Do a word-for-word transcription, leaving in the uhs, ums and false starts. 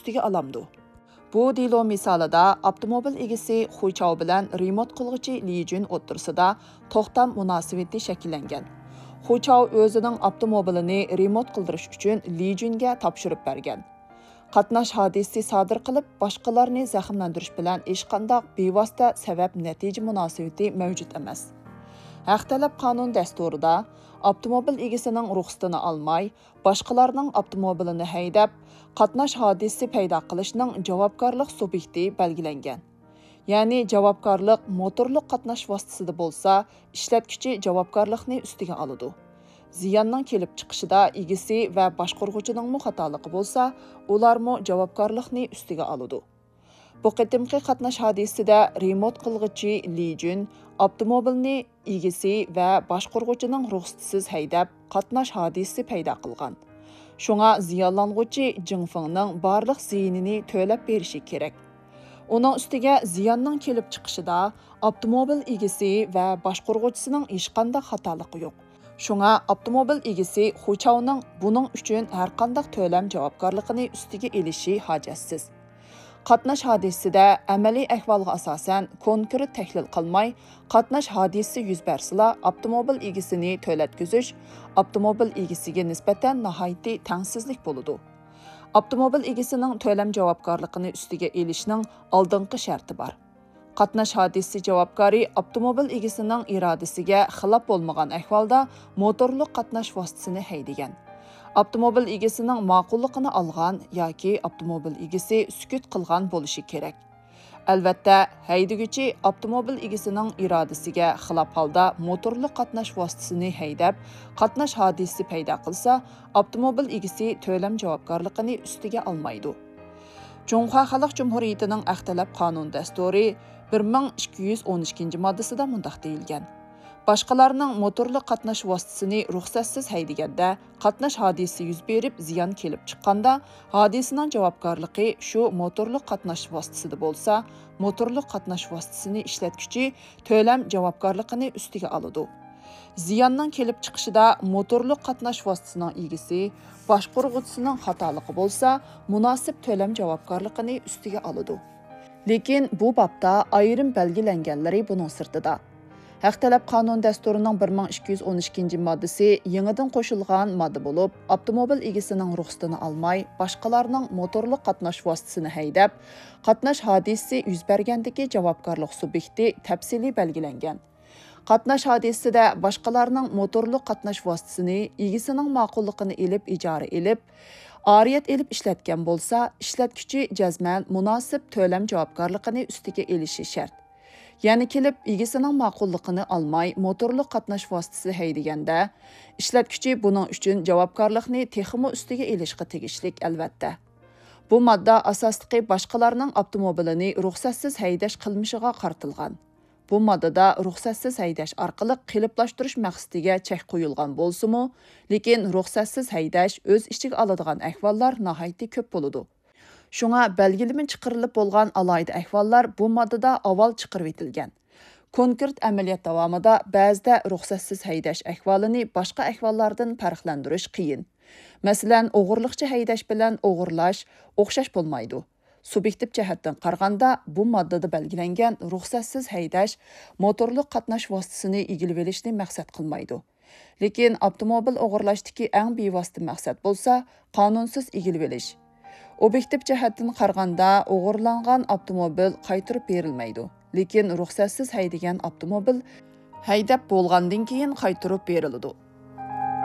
ئۈستىگە ئالامدۇ؟ بۇ دېلو مىسالىدا ئاپتوموبىل ئىگىسى خۇچاۋ بىلەن رېمونت قىلغۇچى لىجۈن ئوتتۇرىسىدا توختام مۇناسىۋىتى شەكىللەنگەن. خۇچاۋ ئۆزىنىڭ ئاپتوموبىلىنى رېمونت قىلدۇرۇش ئۈچۈن لىجۈنگە تاپشۇرۇپ بەرگەن. قاتناش ھادىسىسى سادىر قىلىپ، باشقىلارنى زەخىملەندۈرۈش بىلەن ھېچقانداق بىۋاسىتە سەۋەب-نەتىجە مۇناسىۋىتى مەۋجۇت ئەمەس. ھەق تەلەپ قانۇن دەستۇرىدا ئاپتوموبىل ئىگىسىنىڭ رۇخسىتىنى ئالماي، باشقىلارنىڭ ئاپتوموبىلىنى ھەيدەپ، قاتناش ھادىسىسى پەيدا قىلىشنىڭ جاۋابكارلىق سۇبيېكتى بەلگىلەنگەن. يەنى جاۋابكارلىق موتورلۇق قاتناش ۋاسىتىسىدا بولسا، ئىشلەتكۈچى جاۋابكارلىقنى ئۈستىگە ئالىدۇ. زىياننىڭ كېلىپ چىقىشىدا ئىگىسى ۋە باشقۇرغۇچىنىڭمۇ خاتالىقى بولسا، ئۇلارمۇ جاۋابكارلىقنى ئۈستىگە ئالىدۇ. بۇ قېتىمقى قاتناش ھادىسىسىدە رېمونت قىلغۇچى لى جۈن ئاپتوموبىلنى ئىگىسى ۋە باشقۇرغۇچىنىڭ رۇخسىتىسىز ھەيدەپ، قاتناش ھادىسىسى پەيدا قىلغان. شۇڭا زىيانلانغۇچى جىڭ فېڭنىڭ بارلىق زىيىنىنى تۆلەپ بېرىشى كېرەك. ئۇنىڭ ئۈستىگە زىياننىڭ كېلىپ چىقىشىدا ئاپتوموبىل ئىگىسى ۋە باشقۇرغۇچىسىنىڭ ھېچقانداق خاتالىقى يوق. شۇڭا ئاپتوموبىل ئىگىسى خۇچاۋنىڭ بۇنىڭ ئۈچۈن ھەرقانداق تۆلەم جاۋابكارلىقىنى ئۈستىگە ئېلىشى ھاجەتسىز. قاتناش ھادىسىسىدە ئەمەلىي ئەھۋالغا ئاساسەن كونكرېت تەھلىل قىلماي، قاتناش ھادىسىسى يۈز بەرسىلا، ئاپتوموبىل ئىگىسىنى تۆلەتكۈزۈش ئاپتوموبىل ئىگىسىگە نىسبەتەن ناھايىتى تەڭسىزلىك بولىدۇ. ئاپتوموبىل ئىگىسىنىڭ تۆلەم جاۋابكارلىقىنى ئۈستىگە ئېلىشنىڭ ئالدىنقى شەرتى بار. قاتناش ھادىسىسى جاۋابكارى ئاپتوموبىل ئىگىسىنىڭ ئىرادىسىگە خىلاپ بولمىغان ئەھۋالدا موتورلۇق قاتناش ۋاسىتىسىنى ھەيدىگەن، ئاپتوموبىل ئىگىسىنىڭ ماقۇللۇقىنى ئالغان ياكى ئاپتوموبىل ئىگىسى سۈكۈت قىلغان بولۇشى كېرەك. ئەلۋەتتە، ھەيدىگۈچى ئاپتوموبىل ئىگىسىنىڭ ئىرادىسىگە خىلاپ ھالدا موتورلۇق قاتناش ۋاسىتىسىنى ھەيدەپ، قاتناش ھادىسىسى پەيدا قىلسا، ئاپتوموبىل ئىگىسى تۆلەم جاۋابكارلىقىنى ئۈستىگە ئالمايدۇ. جۇڭخۇا خەلق جۇمھۇرىيىتىنىڭ ھەق تەلەپ قانۇن دەستۇرى بىر مىڭ ئىككى يۈز ئون ئىككىنچى ماددىسىدا مۇنداق دېيىلگەن: باشقىلارنىڭ موتورلۇق قاتناش ۋاسىتىسىنى رۇخسەتسىز ھەيدىگەندە، قاتناش ھادىسىسى يۈز بېرىپ زىيان كېلىپ چىققاندا، ھادىسىنىڭ جاۋابكارلىقى شۇ موتورلۇق قاتناش ۋاسىتىسىدا بولسا، موتورلۇق قاتناش ۋاسىتىسىنى ئىشلەتكۈچى تۆلەم جاۋابكارلىقىنى ئۈستىگە ئالىدۇ. زىياننىڭ كېلىپ چىقىشىدا موتورلۇق قاتناش ۋاسىتىسىنىڭ ئىگىسى، باشقۇرغۇچىسىنىڭ خاتالىقى بولسا، مۇناسىپ تۆلەم جاۋابكارلىقىنى ئۈستىگە ئالىدۇ. لېكىن بۇ بابتا ئايرىم بەلگىلەنگەنلىرى بۇنىڭ سىرتىدا. ھەق تەلەپ قانۇن دەستۇرىنىڭ بىر مىڭ ئىككى يۈز ئون ئىككىنچى ماددىسى يېڭىدىن قوشۇلغان ماددا بولۇپ، ئاپتوموبىل ئىگىسىنىڭ رۇخسىتىنى ئالماي، باشقىلارنىڭ موتورلۇق قاتناش ۋاسىتىسىنى ھەيدەپ، قاتناش ھادىسىسى يۈز بەرگەندىكى جاۋابكارلىق سۇبيېكتى تەپسىلىي بەلگىلەنگەن. قاتناش ھادىسىسىدە باشقىلارنىڭ موتورلۇق قاتناش ۋاسىتىسىنى ئىگىسىنىڭ ماقۇللۇقىنى ئېلىپ ئىجارە ئېلىپ، ئارىيەت ئېلىپ ئىشلەتكەن بولسا، ئىشلەتكۈچى جەزمەن مۇناسىپ تۆلەم جاۋابكارلىقىنى ئۈستىگە ئېلىشى شەرت. يەنە كېلىپ ئىگىسىنىڭ ماقۇللۇقىنى ئالماي موتورلۇق قاتناش ۋاسىتىسى ھەيدىگەندە، ئىشلەتكۈچى بۇنىڭ ئۈچۈن جاۋابكارلىقنى تېخىمۇ ئۈستىگە ئېلىشقا تېگىشلىك، ئەلۋەتتە. بۇ ماددا ئاساسلىقى باشقىلارنىڭ ئاپتوموبىلىنى رۇخسەتسىز ھەيدەش قىلمىشىغا قارىتىلغان. بۇ ماددىدا رۇخسەتسىز ھەيدەش ئارقىلىق قېلىپلاشتۇرۇش مەقسىتىگە چەك قويۇلغان بولسىمۇ، لېكىن رۇخسەتسىز ھەيدەش ئۆز ئىچىگە ئالىدىغان ئەھۋاللار ناھايىتى كۆپ بولىدۇ. شۇڭا بەلگىلىمە چىقىرىلىپ بولغان ئالاھىدە ئەھۋاللار بۇ ماددىدا ئاۋۋال چىقىرىۋېتىلگەن. كونكرېت ئەمەلىيەت داۋامىدا بەزىدە رۇخسەتسىز ھەيدەش ئەھۋالىنى باشقا ئەھۋاللاردىن پەرقلەندۈرۈش قىيىن. مەسىلەن، ئوغرىلىقچە ھەيدەش بىلەن ئوغرىلاش ئوخشاش بولمايدۇ. سۇبيېكتىپ جەھەتتىن قارىغاندا، بۇ ماددىدا بەلگىلەنگەن رۇخسەتسىز ھەيدەش موتورلۇق قاتناش ۋاسىتىسىنى ئىگىلىۋېلىشنى مەقسەت قىلمايدۇ. لېكىن ئاپتوموبىل ئوغرىلاشتىكى ئەڭ بىۋاسىتە مەقسەت بولسا، قانۇنسىز ئىگىلىۋېلىش. ئوبيېكتىپ جەھەتتىن قارىغاندا، ئوغرىلانغان ئاپتوموبىل قايتۇرۇپ بېرىلمەيدۇ. لېكىن رۇخسەتسىز ھەيدىگەن ئاپتوموبىل ھەيدەپ بولغاندىن كېيىن قايتۇرۇپ بېرىلىدۇ.